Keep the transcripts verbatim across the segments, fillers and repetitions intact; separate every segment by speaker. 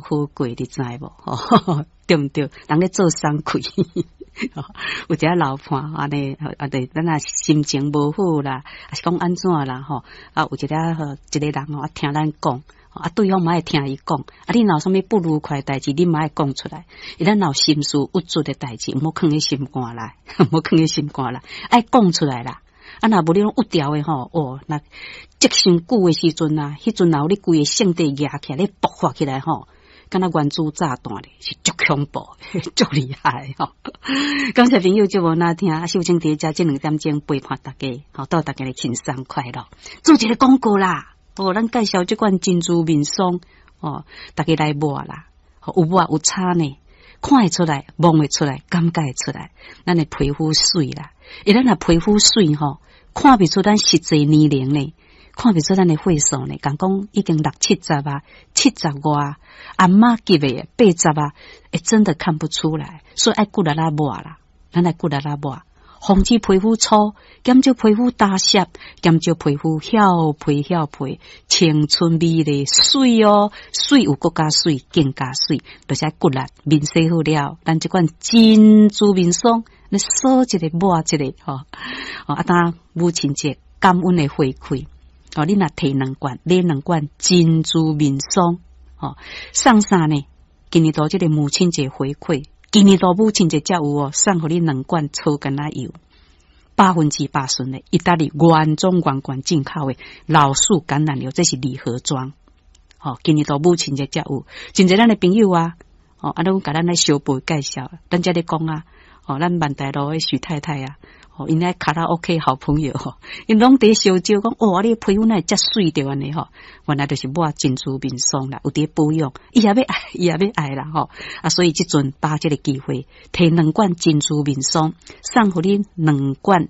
Speaker 1: 好過，你知無？吼，對毋對？人咧做送氣，有一個老伴按呢，啊對，咱若心情無好啦，抑是講按怎啦？吼，啊，有一個一個人吼，啊聽咱講，啊對方嘛愛聽伊講，啊你若有啥物不愉快代誌，你嘛愛講出來。伊咱若有心事鬱卒的代誌，毋好囥佇心肝內，毋好囥佇心肝內，愛講出來啦。啊，若無你攏鬱牢的吼，哦，若積傷久的時陣啊，彼陣若有你規個性地壓起來，咧爆發起來吼，敢若原子炸彈咧，是足恐怖，足厲害吼。感謝朋友節目聆聽，秀清佇遮這兩點鐘陪伴大家，吼，祝大家咧輕鬆快樂。做一個廣告啦，哦，咱介紹這款珍珠面霜，哦，大家來抹啦，有抹有差呢，看會出來，摸會出來，感覺會出來，咱的皮膚媠啦，因咱若皮膚媠吼，看袂出咱實際年齡呢，看袂出咱的歲數呢，共講已經六七十啊，七十外，阿嬤級的八十啊，欸，真的看不出來，所以愛骨力仔抹啦，咱愛骨力仔抹，防止皮膚粗，減少皮膚打濕，減少皮膚翹皮翹皮，青春美麗媠哦，媠有閣較媠，更加媠，就是愛骨力面洗好了，咱這款珍珠面霜，你掃一個抹一個吼，哦，啊，當母親節感恩的回饋，哦，你若提兩罐，買兩罐珍珠面霜，吼，送啥呢？今年度這個母親節回饋，今年度母親節才有哦，送予你兩罐草橄欖油，百分之百純的，意大利原裝原罐進口的老樹橄欖油，這是禮盒裝，吼，今年度母親節才有，真濟咱的朋友啊，哦，啊，攏共咱來小步介紹，咱遮咧講啊。哦，咱萬大路的許太太啊，哦，𪜶咧卡拉 OK 好朋友吼，𪜶攏佇相招講，哦，你皮膚哪會遮媠著按呢吼？原來就是抹珍珠面霜啦，有佇保養，伊也欲愛，伊也欲愛啦吼。啊，所以這陣把握這個機會，提兩罐珍珠面霜，送予你兩罐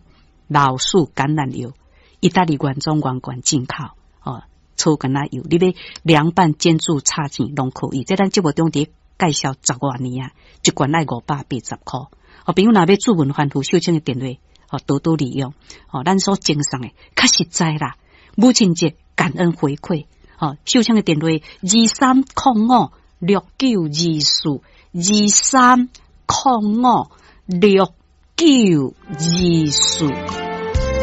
Speaker 1: 老樹橄欖油，意大利原裝原罐進口，哦，草橄欖油，你欲涼拌煎煮炒煎攏可以。這咱節目中佇介紹十外年啊，一罐愛五百八十箍。哦，朋友若欲注文繁複秀清的電話，哦，多多利用。哦，咱所贈送的較實在啦。母親節感恩回饋，哦，秀清的電話二三空五六九二四，二三空五六九二四。